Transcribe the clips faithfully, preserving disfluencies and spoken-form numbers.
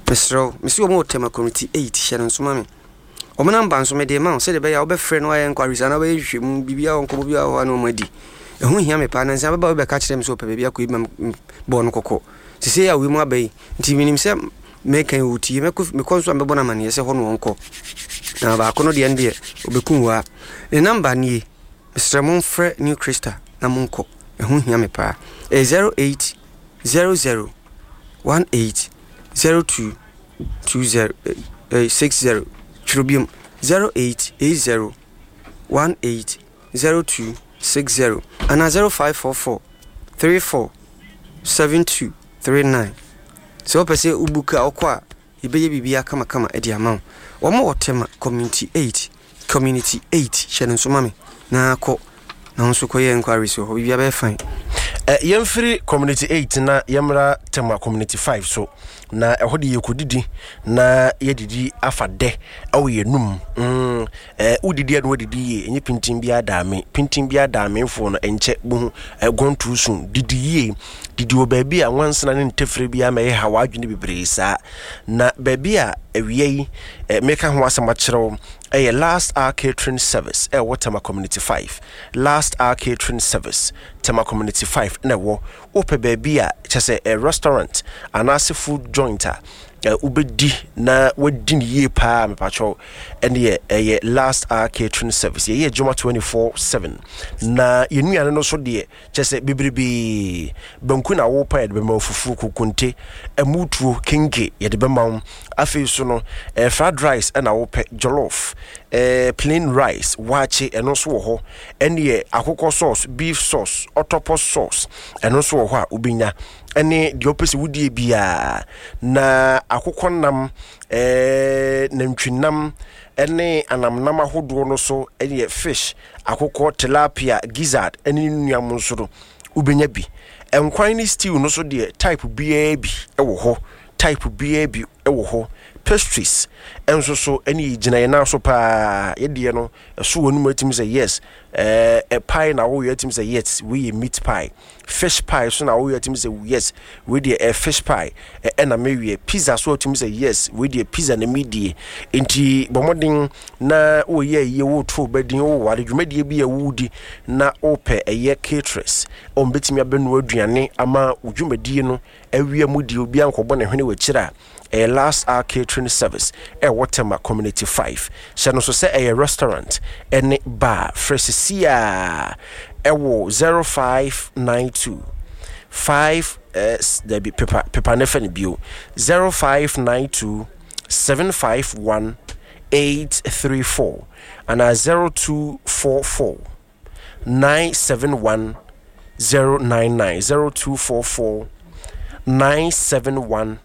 Mesrɛ wo, mese wɔn wɔ Tema Community eight, hyɛ no nso ma me. Wɔn namba nso mede ma wo sɛdeɛ ɛbɛyɛ a wobɛfrɛ no ayɛ enquiries anaa wobɛyɛ nhwehwɛmu, biribiara wɔ nkɔmmɔ biara wɔ hɔ a na wɔn adi. Ɛho hia me paa, nansa bɛba obi bɛka kyerɛ me sɛ ɔpɛ baabi akɔ yi ma bɔɔ no kɔkɔ. Sesei a wei mu aba yi, nti menim sɛ mɛka yi wɔtie, mɛkɔ mekɔ nso a mɛbɔ no amanneɛ sɛ hɔ na wɔnkɔ. Na baako no deɛ no deɛ, ɔbɛkum wo a. Ne namba nie, mesrɛ momfrɛ New Crystal na monkɔ. Ɛho hia me paa. Ɛyɛ zero eight zero zero one eight zero two two zero eh, six zero. Twerɛ biom zero eight eight zero one eight zero two six zero anaa zero five four four three four seven two three nine. Sɛ wopɛ sɛ wobuku a wokɔ a yɛbɛyɛ biribiara kamakama de ama wo. Wɔn wɔ Tema Community eight, Community eight, hyɛ no nso ma me na kɔ na wo nso kɔyɛ enquiries wɔ hɔ, biribiara bɛyɛ fine. Eh, yɛmfiri Community eight na yɛmmra Tema Community five so, na ɛhɔ de yɛkɔdidi na yɛdidi afa dɛ ɛwɔ yɛnum. mm, eh, wodidi a na wadidi yie, ɛnyɛ pintin biara daame pintin biara daamefoɔ no ɛnkyɛ bohu eh, gone too soon. Didi yie, didi wɔ baabi a nwansena ne ntɛfrɛ biara ma ɛyɛ ha w'adwene bebree saa. Na baabi a awia yi eh, meka ho asɛm akyerɛ wo ɛyɛ Last Hour Catering Service ɛwɔ Tema Community five. Last Hour Catering Service, Tema Community five na ɛwɔ. Wopɛ baabi a kyɛ sɛ eh, restaurant anaasɛ food joint a eh, wobɛdi na wadi no yie paa, mepakyɛw, ɛneɛ ɛyɛ Last Hour Catering Service. Yɛyɛ adwuma twenty-four seven na yɛnnuane no so deɛ kyɛ sɛ bebrebee. Banku na wopa, yɛde bɛma wo, fufuo, kokonte, ɛmutuo, kenke yɛde bɛma wo. Afei so no eh, fried rice ɛna wopɛ, jollof, eh, plain rice, waakye ɛno nso wɔ hɔ, ɛneɛ akokɔ sauce, beef sauce, octopus sauce ɛno nso wɔ hɔ a wobɛnya, ɛne deɛ wopɛ sɛ wodie biara. Na akokɔ nam, eh, nantwinam ɛne anamnam ahodoɔ no so, ɛneɛ fish, akokɔ, tilapia, gizzard ɛne ne nnuam nso no wobɛnya bi. Nkwan ne stew no so deɛ type biara bi ɛwɔ hɔ, type biara bi ɛwɔ hɔ. Pastries ɛnso so ɛne yɛgyina yɛn nan so paa. Yɛdeɛ no ɛso wɔ no mu atumi sɛ yes, ɛɛ pie na woyɛ atumi sɛ yes, wei yɛ meat pie. Fish pie so na woyɛ atumi sɛ yes, wei deɛ ɛ fish pie ɛna mewie. Pizza so atumi sɛ yes, wei deɛ pizza na medie. Nti bɔ mmɔden na woyɛ ayie, woto bɛdin, woware dwumadie bi a wodi na wopɛ ɛyɛ caterers ɔn bɛtumi abɛnoa aduane ama wo dwumadie no awia mu die, obiara nkɔbɔ ne hwene wɔ akyire a, ɛyɛ Last Hour Catering Service ɛwɔ Tema Community five. Hyɛ no so sɛ ɛyɛ restaurant ɛne bar. Frɛ sisi a ɛwɔ zero five nine two five eh, dabi, pepa pepa ne fɛ no bio, zero five nine two seven five one eight three four anaa zero two four four nine seven one zero nine nine, zero two four four nine seven one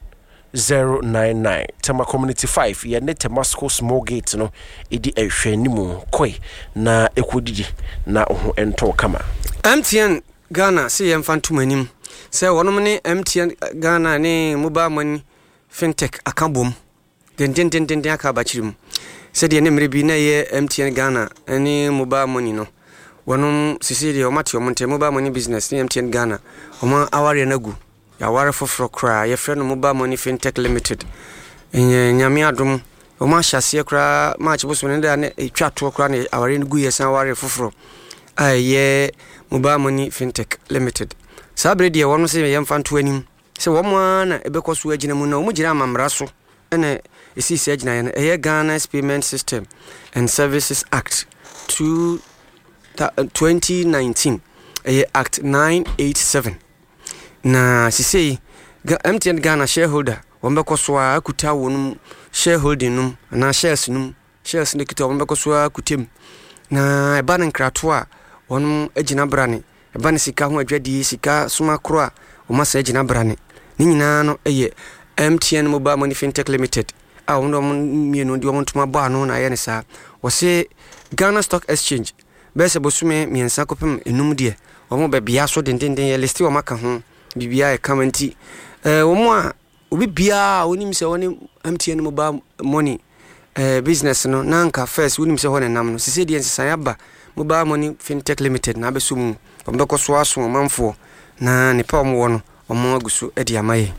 zero nine nine. Tema Community five, yɛne Temasco small gate no ɛdi ɛhwɛ anim kɔe na ɛkɔdidi na wo ho ɛntɔɔ kama. M T N Ghana sɛ yɛmfa ntom anim sɛ wɔnom ne M T N Ghana ne mobile money fintech aka bom dendendendenden aka abakyiri mu sɛdeɛ ne mmerɛ bi na ɛyɛ M T N Ghana ne mobile money no. Wɔnom sisi deɛ wɔate wɔn ntɛm mobile money business ne M T N Ghana wɔn awareɛ no agu, yɛaware foforɔ koraa, yɛfrɛ no Mobile Money Fintech Limited. Ɛnyɛ Nyame adom wɔn ahyɛ aseɛ koraa March bosom no da ne ɛtwa toɔ koraa na awareɛ no gu, yɛ san aware foforɔ a ɛyɛ Mobile Money Fintech Limited. Saa bere deɛ wɔn sɛ yɛmfa nto anim sɛ wɔn ara na ɛbɛkɔ so agyina mu na wɔn gyina amammara so ɛna ɛsii saa gyinaeɛ no, ɛyɛ Ghana's Payment System and Services Act two twenty nineteen, ɛyɛ Act nine eighty-seven. Na sisei M T N Ghana shareholder wɔn bɛkɔ so a akuta wɔn shareholding nom anaa shares nom, shares no kita wɔn bɛkɔ so a akuta mu, na ɛba no nkrato a wɔn agyina brane, ɛba no sika ho adwadie, sika soma koro a wɔn asa agyina brane ne nyinaa no yɛ M T N Mobile Money Fintech Limited a wɔn de wɔn mmienu de wɔn ntoma bɔ ano na ayɛ ne saa. Wɔse Ghana Stock Exchange bɛyɛ sɛ bosome mmiɛnsa kɔpem enum deɛ wɔn bɛbea so dendenden yɛ list wɔn aka ho biribiara yɛ kama. Nti ɛɛ wɔn a obi biara a wɔnim sɛ wɔne M T N Mobile Money ɛɛ business no na nka first wɔnim sɛ hɔ na nam no, sisi deɛ nsesan aba, Mobile Money Fintech Limited na abɛso mu. Wɔn bɛkɔ so aso ɔmanfoɔ na nipa a wɔn wɔ no wɔn agu so de ama yɛn.